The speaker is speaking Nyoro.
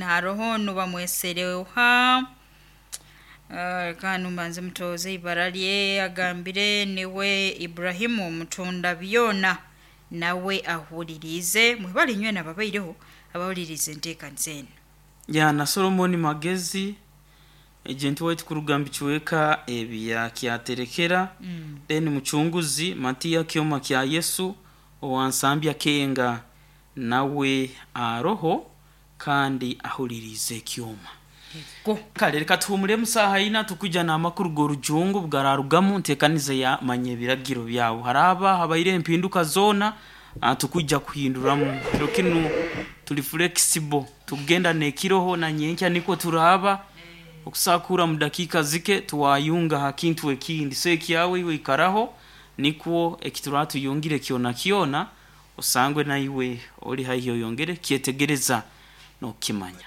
Haroho nubamwesereha kandi mbanze mutooze ibara lye agambire niwe Ibrahimu omutunda byona nawe ahuliriize mwebale nywena ababaireho abahuliriize enteekaniza enu. Ya na Solomoni Magezi ejenti waitu kuruga mbicweka ebya Kyaterekera, then mucunguzi Matiya Kyoma kya Yesu owansambya Kenga nawe aroho kandi ahuliriize ekyoma. Ego. Kale reka tuhumulemu saaha ina tukwija n'amakuru g'orujungu bugararugamu nteekaniza ya manya ebiragiro byawe. Haraba habaire empinduka zoona, tukwija kuhinduramu. Kiro kinu tuli flexible, tukugenda n'ekiroho na nyenkya nikwo turaaba okusakura mu dakiika zike twayunga ha kintu ekindi. So ekyawe iwe ikaraho nikwo ekituraba tuyungire kyona kyona osangwe naiwe ori haihi oyongere kyetegereza n'okukimanya.